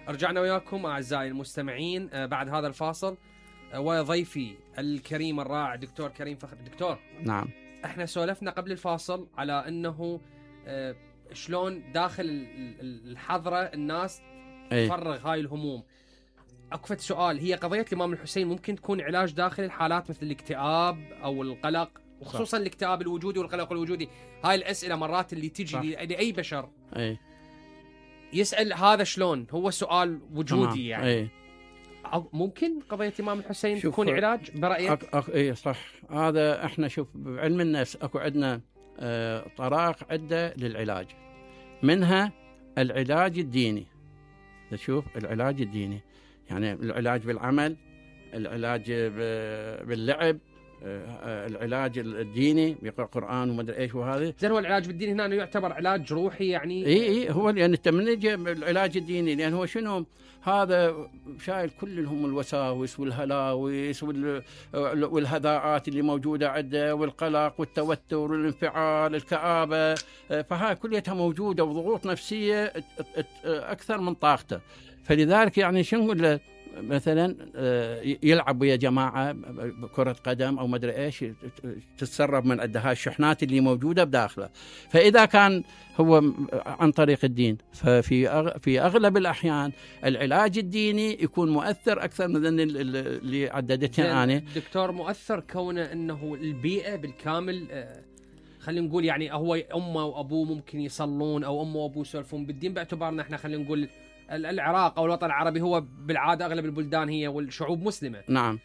رجعنا وياكم أعزائي المستمعين بعد هذا الفاصل، وضيفي الكريم الرائع دكتور كريم فخر. دكتور، نعم، احنا سولفنا قبل الفاصل على انه شلون داخل الحضرة الناس تفرغ هاي الهموم. أكفت سؤال، هي قضية الإمام الحسين ممكن تكون علاج داخل الحالات مثل الاكتئاب أو القلق، وخصوصا الاكتئاب الوجودي والقلق الوجودي؟ هاي الأسئلة مرات اللي تجي لأي بشر يسأل هذا شلون، هو سؤال وجودي يعني. ممكن قضية الإمام الحسين تكون علاج برأيك؟ اي صح. هذا احنا شوف بعلم النفس اكو عندنا طرائق عدة للعلاج، منها العلاج الديني. تشوف العلاج الديني يعني العلاج بالعمل، العلاج باللعب، العلاج الديني بيقرأ قرآن وما ادري ايش وهذا. زين، هو العلاج بالدين هنا يعتبر علاج روحي يعني؟ اي هو يعني انت من يجي العلاج الديني، لان هو شنو هذا شايل كلهم الوساوس والهلاوس والهذاءات اللي موجوده عنده، والقلق والتوتر والانفعال، الكآبه، فهاي كلها موجوده وضغوط نفسيه اكثر من طاقته. فلذلك يعني شنو نقول له مثلا يلعب ويا جماعه كره قدم او ما ادري ايش، تتسرب من عنده هاي الشحنات اللي موجوده بداخله. فاذا كان هو عن طريق الدين، ففي اغلب الاحيان العلاج الديني يكون مؤثر اكثر من اللي عددتها انا. دكتور، مؤثر كونه انه البيئه بالكامل، خلينا نقول يعني هو امه وابوه ممكن يصلون، او امه وابوه يسولفون بالدين، باعتبارنا احنا خلينا نقول العراق او الوطن العربي هو بالعاده اغلب البلدان هي والشعوب مسلمه. نعم.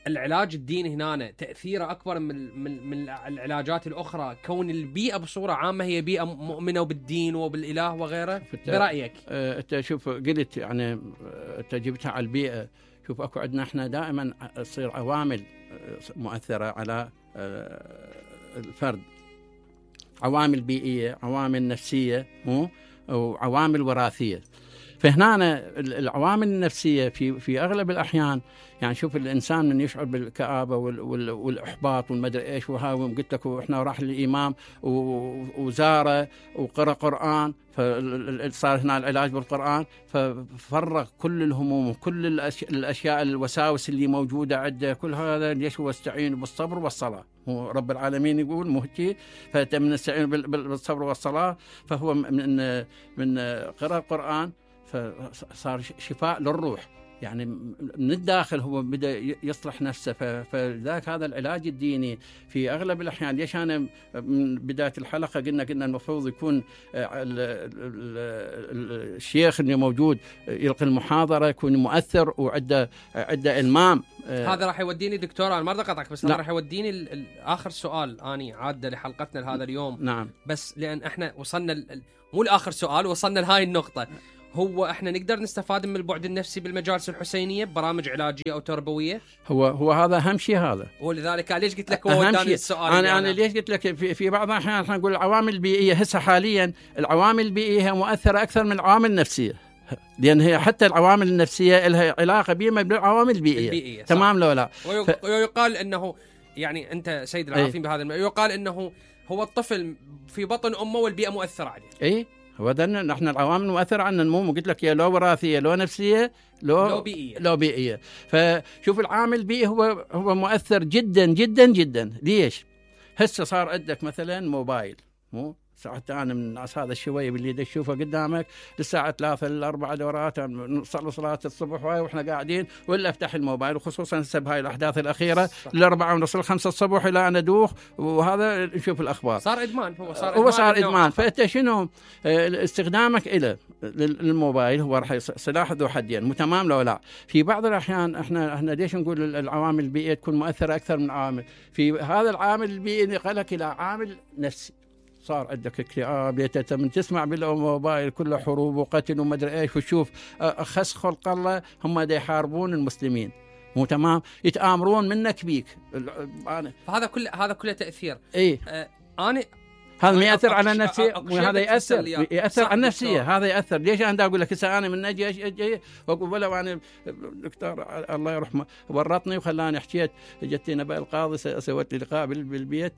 العلاج الديني هنا تاثيره اكبر من العلاجات الاخرى، كون البيئه بصوره عامه هي بيئه مؤمنه بالدين وبالاله وغيره. برايك انت شوف قلت يعني انت جبتها على البيئه. شوف اكو عندنا احنا دائما تصير عوامل مؤثره على الفرد، عوامل بيئيه، عوامل نفسيه، وعوامل وراثيه. فهنا العوامل النفسية في أغلب الأحيان يعني شوف الإنسان من يشعر بالكآبة والإحباط والمدري إيش وهاوم، قلت لك إحنا راح للإمام وزاره وقرأ قرآن، فصار هنا العلاج بالقرآن، ففرغ كل الهموم وكل الأشياء الوساوس اللي موجودة عنده. كل هذا ليش؟ هو استعين بالصبر والصلاة. هو رب العالمين يقول مهتي فمن استعين بالصبر والصلاة، فهو من قراءة القرآن فصار شفاء للروح، يعني من الداخل هو بدأ يصلح نفسه. فذاك هذا العلاج الديني في أغلب الأحيان. ليش أنا من بداية الحلقة قلنا المفروض يكون الشيخ اللي موجود يلقي المحاضرة يكون مؤثر وعنده إلمام. هذا راح يوديني دكتور، أنا ما أريد أقطعك، بس هذا راح يوديني آخر سؤال أني عادة لحلقتنا لهذا اليوم. نعم. بس لأن إحنا وصلنا مو لآخر سؤال، وصلنا لهاي النقطة. هو احنا نقدر نستفاد من البعد النفسي بالمجالس الحسينيه ببرامج علاجيه او تربويه؟ هو هذا اهم شيء هذا. ولذلك ليش قلت لك هو وداني السؤال. انا ليش قلت لك في بعض الاحيان احنا نقول العوامل البيئيه. هسه حاليا العوامل البيئيه مؤثره اكثر من العوامل النفسيه، لان هي حتى العوامل النفسيه لها علاقه بما بالعوامل البيئيه. تمام لو لا؟ ويقال انه يعني انت سيد العارفين بهذا يقال انه هو الطفل في بطن امه والبيئه مؤثره عليه. هو ده نحن العوامل مؤثرة عن النمو. قلت لك يا لو وراثية، لو نفسية، لو بيئية. فشوف العامل البيئي هو مؤثر جدا جدا جدا. ليش؟ هسه صار عندك مثلا موبايل، مو ساعات أنا من الناس هذا الشوية اللي تشوفه قدامك للساعة 3 ل4 دورات نصلي صلاة الصبح وإحنا قاعدين ولا أفتح الموبايل، وخصوصا بهاي الأحداث الأخيرة ل4:30 ل5 الصبح إلى أنا أدوخ، وهذا نشوف الأخبار. صار إدمان. هو صار إدمان. فأنت شنو استخدامك إلى الموبايل هو راح سلاح ذو حدين. تمام لو لا؟ في بعض الأحيان إحنا ليش نقول العوامل البيئية تكون مؤثرة أكثر من عامل؟ في هذا العامل البيئي نقلك إلى عامل نفسي. صار عندك اكتئاب، من تسمع بالموبايل كله حروب وقتل وما ادري ايش، وتشوف اخس خلق الله هم دا يحاربون المسلمين. مو تمام؟ يتآمرون منك بيك. فهذا كله تأثير. انا هذا ما يأثر على النفسية، وهذا يأثر على النفسية. هذا يأثر. ليش أنا أقول لك هسه أنا من نجي وأقول ولو أنا دكتور الله يرحمه ورطني وخلاني حكيت، جت نبأ القاضي سويت لي لقاء بالبيت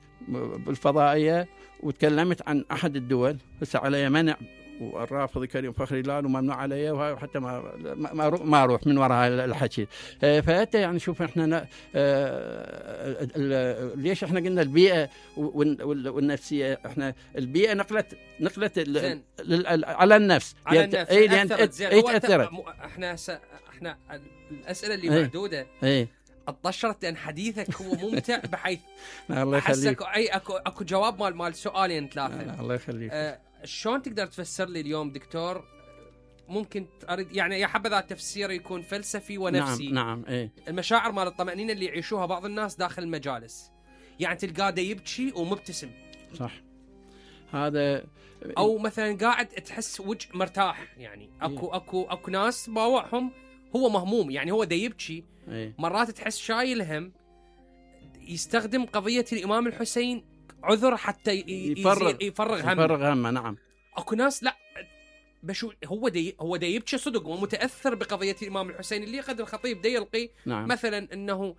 بالفضائية وتكلمت عن أحد الدول هسه على منع والرافض كريم فخري لال وممنوع علي، وحتى ما اروح من وراء الحكي. فانت يعني شوف احنا ليش احنا قلنا البيئه والنفسيه، احنا البيئه نقلت على النفس، على النفس تاثرت. احنا الاسئله اللي معدوده اتطشرت لان حديثك هو ممتع بحيث الله يخليك. اكو جواب مال سؤالين ثلاثه. الله يخليك. شلون تقدر تفسر لي اليوم دكتور؟ ممكن اريد يعني يا حبذا التفسير يكون فلسفي ونفسي. نعم المشاعر مال الطمأنينة اللي يعيشوها بعض الناس داخل المجالس، يعني تلقاه يبكي ومبتسم، صح، هذا او مثلا قاعد تحس وجه مرتاح، يعني اكو ناس باوعهم هو مهموم، يعني هو يبكي مرات تحس شايل هم، يستخدم قضية الإمام الحسين عذر حتى يفرغ همه. نعم. اكو ناس لا بشو هو يبكي صدق ومتأثر بقضية الإمام الحسين اللي قد الخطيب يلقي مثلا انه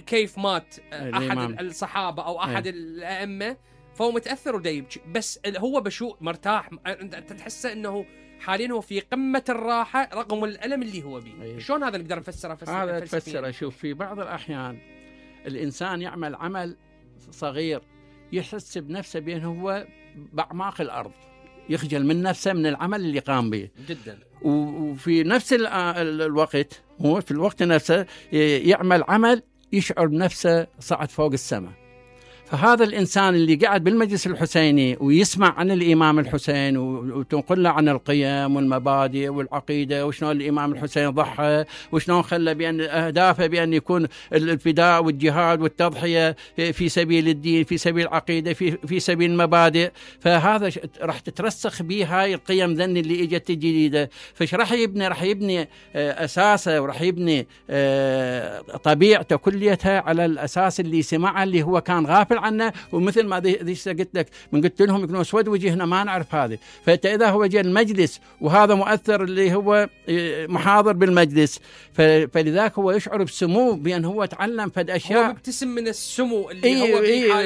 كيف مات احد الصحابة او احد الائمة، فهو متأثر يبكي، بس هو بشو مرتاح، انت تحسه انه حاليا هو في قمة الراحة رغم الألم اللي هو بيه. شلون هذا نقدر نفسره؟ هذا تفسره، شوف في بعض الأحيان الإنسان يعمل عمل صغير يحس بنفسه بأنه هو بأعماق الأرض، يخجل من نفسه من العمل اللي قام به جدا، وفي نفس الوقت هو في الوقت نفسه يعمل عمل يشعر بنفسه صعد فوق السماء. فهذا الإنسان اللي قاعد بالمجلس الحسيني ويسمع عن الإمام الحسين وتنقل له عن القيم والمبادئ والعقيدة وشلون الإمام الحسين ضحى وشلون خلى بأن أهدافه بأن يكون الفداء والجهاد والتضحية في سبيل الدين، في سبيل العقيدة، في سبيل المبادئ، فهذا راح تترسخ به هاي القيم ذن اللي اجت الجديدة. فش راح يبني أساسه، وراح يبني طبيعته كليتها على الأساس اللي سمعه اللي هو كان غافل عنه. ومثل ما قلت لك من قلت لهم يكونوا اسود وجهنا ما نعرف هذه، فإذا هو جاء المجلس وهذا مؤثر اللي هو محاضر بالمجلس، فلذلك هو يشعر بسمو بأن هو تعلم فد أشياء، هو مبتسم من السمو اللي هو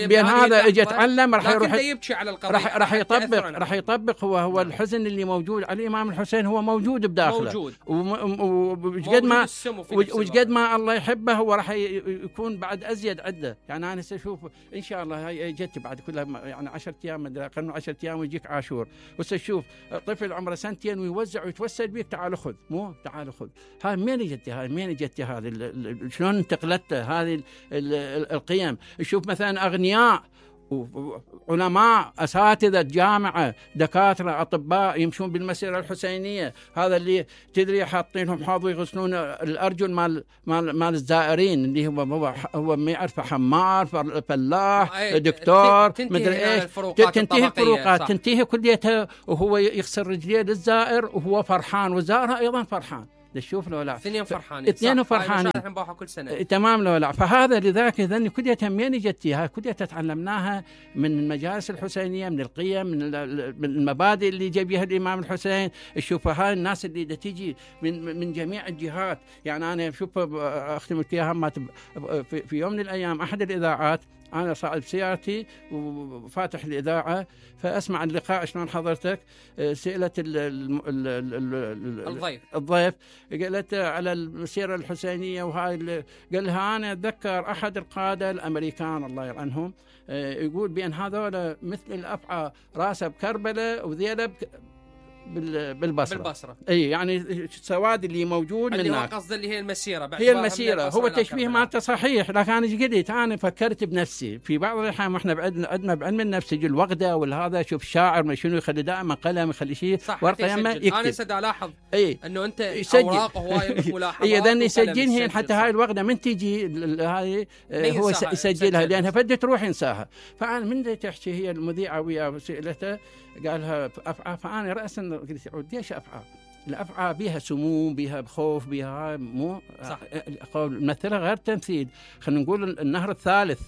بأن هذا اجى يتعلم، راح يروح يبكي على القضية، راح يطبق هو الحزن اللي موجود على الإمام الحسين هو موجود بداخله، وقد ما الله يحبه هو راح يكون بعد أزيد عدة. يعني أنا سأشوف إن شاء الله هاي جت بعد كلها يعني 10 أيام قبل 10 أيام ويجيك عاشور، وسأشوف طفل عمره 2 سنين ويوزع ويتوسل بيك تعال خذ، تعال خذ. هاي منين جت هذه شلون انتقلت هذه القيم؟ شوف مثلا أغنياء وعلماء أساتذة جامعة دكاترة أطباء يمشون بالمسيرة الحسينية، هذا اللي تدري حاطينهم حاضوا يغسلون الأرجل مال الزائرين اللي هو ما يعرف حمار فلاح دكتور مدري ايش، تنتهي الفروقات تنتهي كليتها، وهو يغسل رجليه للزائر وهو فرحان وزارها أيضا فرحان. تشوف له لا اثنين فرحانين كل سنة تمام له لا. فهذا لذاك ذني كلها منين جتيها؟ كلها تعلمناها من المجالس الحسينية، من القيم، من المبادئ اللي جابها الإمام الحسين. شوف هاي الناس اللي تيجي من جميع الجهات. يعني أنا شوف أختم لك إياها، في يوم من الأيام أحد الإذاعات أنا صاعد بسيارتي وفاتح الإذاعة فأسمع اللقاء شلون حضرتك سئلت الضيف قالت على المسيرة الحسينية وهاي، قال لها أنا أتذكر أحد القادة الأمريكان الله يلعنهم يقول بأن هذول مثل الأفعى راسه بكربلة وذيله بالبصرة. اي يعني السواد اللي موجود اللي هناك هو قصده اللي هي المسيرة هي المسيرة. هو تشبيه مالته صحيح، لكن انا ايش قلت؟ انا فكرت بنفسي في بعض الاحيان احنا عندنا بعلم النفس يجي الوغده والهذا، شوف الشاعر ما شنو يخلي دائما قلم يخلي شيء ورقه يمه يكتب. انا سد الاحظ انه انت اوراق هوايه ملاحظات اذا يسجلهن حتى هاي الوغده من تجي هاي هو يسجلها لانها فدت تروح ينساها. فانا من تحكي هي المذيعه ويا سئلته قالها أفعى، فأنا رأسا قلت ليش أفعى؟ الأفعى بها سموم، بها خوف، بها مو صح. مثلها غير تمثيل، خلينا نقول النهر الثالث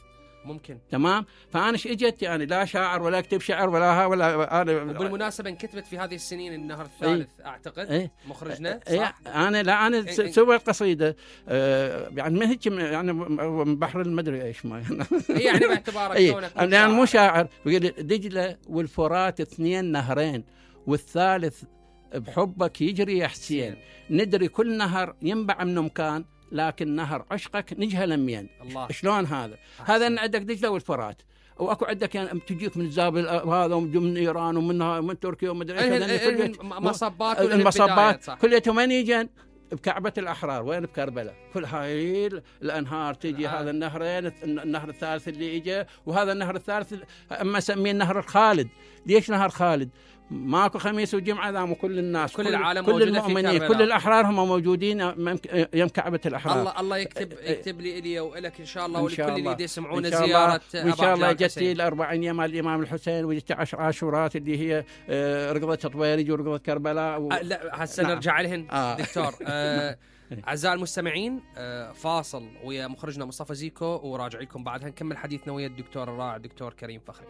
ممكن تمام. فأنا ايش اجت يعني لا شاعر ولا اكتب شعر ولا ولا انا. وبالمناسبة انكتبت في هذه السنين النهر الثالث اعتقد مخرجنا صح. انا سويت قصيدة يعني ما هيك يعني من بحر المدري ايش ما يعني باعتبارك كونك يعني مو شاعر. دجلة والفرات 2 نهرين والثالث بحبك يجري يا حسين، ندري كل نهر ينبع من مكان، لكن نهر عشقك نجهل منين. شلون هذا؟ هذا عندك دجلة والفرات، واكو عندك يعني تجيك من الزابل هذا ومن ايران ومن تركيا ومدري ايش، مصبات المصبات كليتهم وين يجن؟ بكعبة الأحرار. وين؟ بكربلاء. كل هاي الأنهار تجي هذا النهرين، النهر الثالث اللي إجا، وهذا النهر الثالث أما سميه النهر الخالد. ليش نهر خالد؟ ماكو خميس وجمعة ذام وكل الناس كل العالم كل المؤمنين كل الأحرار هم موجودين يم كعبة الأحرار. الله يكتب لي ولك إن شاء الله ولكل اللي يسمعون زيارة وإن شاء الله جتي ال40 مال الإمام الحسين، وجتي 10 عاشورات اللي هي رقضة طويرج ورقضة كربلاء لا هسه نرجع لهن دكتور. أعزائي المستمعين، فاصل ويا مخرجنا مصطفى زيكو، وراجع لكم بعدها نكمل حديثنا ويا الدكتور الرائع الدكتور كريم فخري.